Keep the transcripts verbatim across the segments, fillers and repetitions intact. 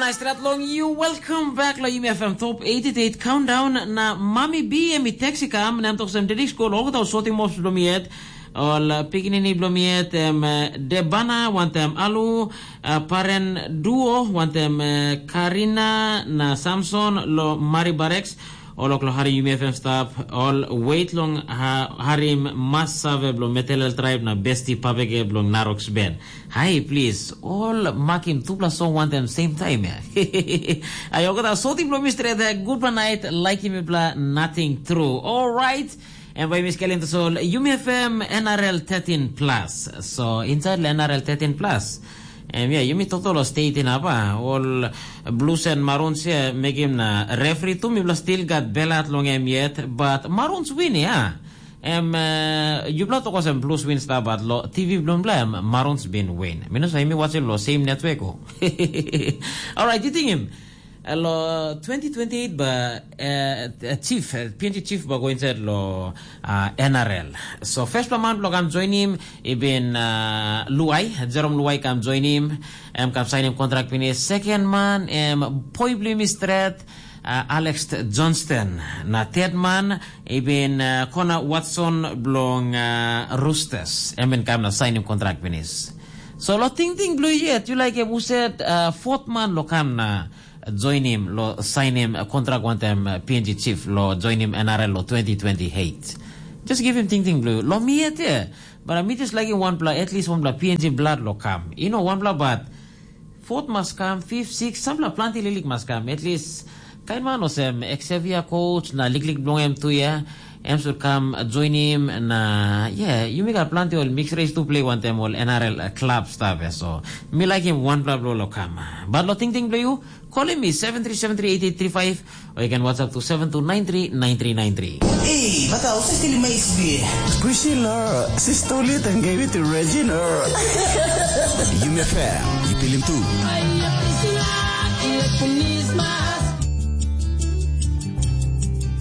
Stret long you, welcome back lo Yumi F M Top eighty-eight Countdown. Na Mami B em i text i kam, na em tok sem, "Deddy School, olgeta ol sorting mops bilong mi yet, ol uh, pikinini bilong mi yet, em uh, Debana, wantem Alu, uh, Paren Duo, wantem uh, Karina na Samson lo Mari Barex, ol ok lo hari Yumi F M staff, ol wait long ha, harim mas save bilong Metelel Tribe na besti papege bilong Naroks Ben." Hai, plis, ol makim tupela song wantem same time ya. Ai, olgeta soting bilong mi stret ya, gutpela nait, laikim mipela nating tru. Alright, em bai mi skelim tasol, Yumi F M N R L thirteen plus. So, inside la N R L thirteen plus. Em ya, yumi toktok lo state inap, ah, ol Blues and Maroons ya mekim na referee tu mipela still gat belat long em yet, but Maroons win ya. Em uh, yupela tok olsem Blues win sta bat lo T V bilong bla em Maroons bin win. Mi no sa mi watching lo same network o. Alright, you think him. Lo twenty twenty-eight ba uh, chief, uh, P N G chief ba go inside lo uh, N R L. So first man lo kam join him, ibin uh, Luai, Jerome Luai kam join him. Em kam sign him contract finish. Second man, em poi bli mi stret, uh, Alex Johnston. Na third man, ibin uh, Kona Watson bilong uh, Roosters. Em bin kam na sign him contract finish. So lo tingting bilong yet, you like em uset uh, fourth man lo kam na join him, lo sign him uh, contract wantem uh, P N G chief, lo join him N R L lo twenty twenty-eight. Just give him tingting bilong you. Lo mi yet, yeah. But mi just like him one pla, at least one pla P N G blood lo kam. You know, one pla but fourth mas kam, fifth, sixth, sampela planti liklik mas kam. At least, kain man olsem, Xavier coach na liklik bilong em tu ya, em should kam join him na, yeah, yumi gat planti ol mix race tu play wantem ol N R L club stuff ya. So, mi like him one pla bilong lo kam. But lo tingting bilong you, call him me seven three seven three eight eight three five or you can WhatsApp to seven two nine three nine three nine three. Hey, bata, o se stili mais bie. Priscilla, sister lit and gave it to Regina. Yumi F M, you feel him too.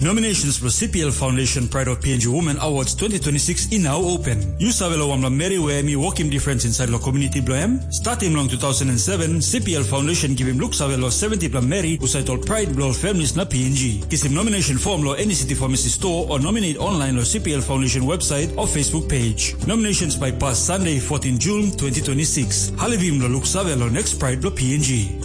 Nominations for C P L Foundation Pride of P N G Women Awards twenty twenty-six i now open. You save lo wamla meri we mi work him difference inside lo community blo em? Starting long two thousand and seven, C P L Foundation give him look save lo seventy pla meri who sait ol pride blo ol families na P N G. Kisim nomination form lo any city pharmacy store or nominate online lo C P L Foundation website or Facebook page. Nominations by pass Sunday, fourteen June twenty twenty-six. Halivim lo look save lo next pride blo P N G.